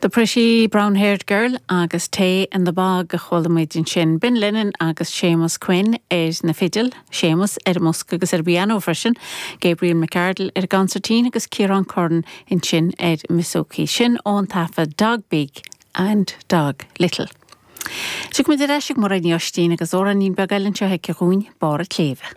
The Pretty Brown Haired Girl agus Tay in the Bog a chuala muid ansin. Ben Lennon agus Séamus Quinn ar na fidil, Séamus ar an mbosca agus ar an bpianó freisin, Gabriel McArdle ar an gconsairtín agus Ciarán Curran ansin ar an mbouzouki. Sin ón taifead Dog Big and Dog Little. Tiocfaidh muid ar ais ag Mairéad Ní Oistín agus amhráinín beag eile anseo aici dhúinn, Barr an tSléibhe.